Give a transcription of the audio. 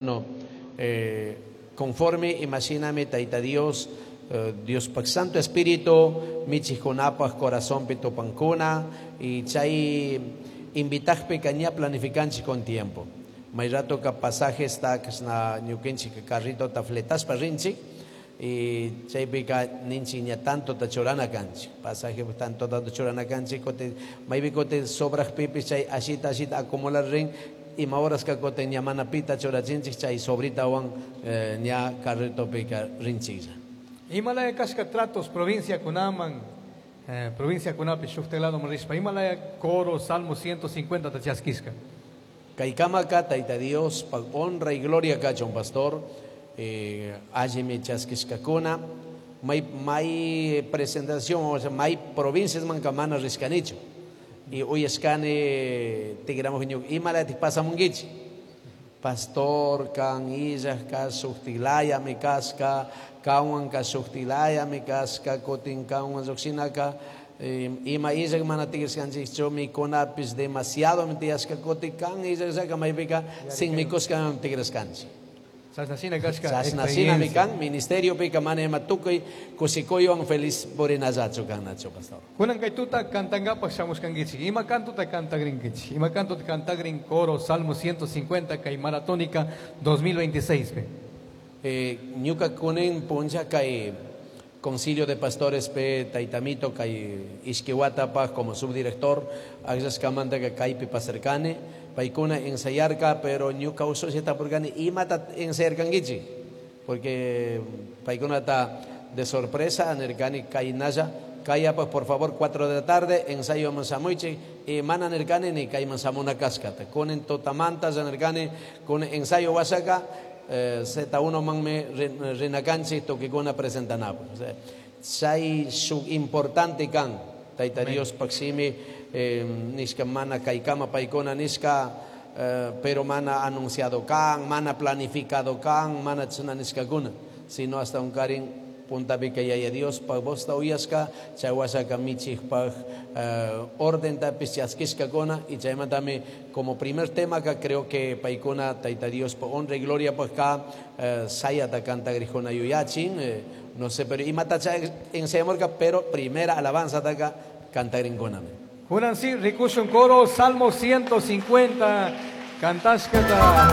No, conforme imashinami Tayta Dios, Diospaj Santo Espíritu michijkunapaj corazonpi tupankuna y chay invitajpika ña planificanchik con tiempo. May ratoka pasajesta kashna ñukanchik carritota fletaspa rinchik y chaypika ninchik ña tantota churana kanchik, pasaje tanto tanto churana kanchik, kutin maypi kutin sobrajpipis chay ashita ashita acumular rin, ima horaska kutin ña mana pita churachinchik chay sobritawan ña carritopika rinchiklla. Imalaya kashka tratos provincia kunaman, provincia kunapi shuktak ladoman rishpa, imalaya coro Salmo 150 ta chaskishka. Kaykamaka Tayta Dios pa honra y gloria kachun pastor, allimi chaskishkakuna, may, may presentación, o sea, may provincias manka mana rishkanichu. Y uyashkani tigramuj ñuka, imalatik pasamunkichik? Pastor, kan illaj ka shuktilayami kashka, kanwan ka shuktilayami kashka, kutin kanwan llukshinaka, ima illaj mana tigrashkanchikchu, mikunapis demasiado tiyashka, kutin kan illajllaka maypika sin mikushka tigrashkanchik. Chashnashina kashka Chashnashinami experiencia. kan, ministerio pika mana ima tukuy kushikuywan feliz purinallachu kannachu, pastor. Kunan kay tuta kantankapaj shamushkankichik. Ima kantuta kantagrinkichik? Ima kantuta kantagrin coro Salmo 150 kay Maratónica 2026 pe? Ñuka kunin puncha kay Concilio de Pastores pe Taytamito kay Ishkiwatapaj como subdirector, akllashkamanta ka kaypi pasarkani, paykuna ensayarka, pero ñuka usushi tapurkani imata ensayarkankichik, porque paykunata de sorpresa nirkani kaynalla, kayapaj por favor 4 de la tarde ensayo shamuichik, y mana nirkani ni kayman shamuna kashkata, kunin tutamanta nirkani kun ensayo wasaka, Z1 manmi rinakanchik tukikuna presentanapaj. O sea, chay shuk importante kan Tayta Amén. Dios paksimi, nishka mana kaykama paykuna nishka, pero mana anunciado kan, mana planificado kan, mana chana nishkakuna, sino hasta un karin puntapika yaya Dios pag vosta uyashka, chay wasaka michikpaj, orden tapis chaskishkakuna, y chaymantami como primer tema ka creo que paykuna Tayta Dios pa honra y gloria pa ka, sayata cantagrijuna yuyachin, no sé, pero imata chay enseñamorka, pero primera alabanza taka cantagrinkunami. Kunan si rikushun coro Salmo 150 cantashkata.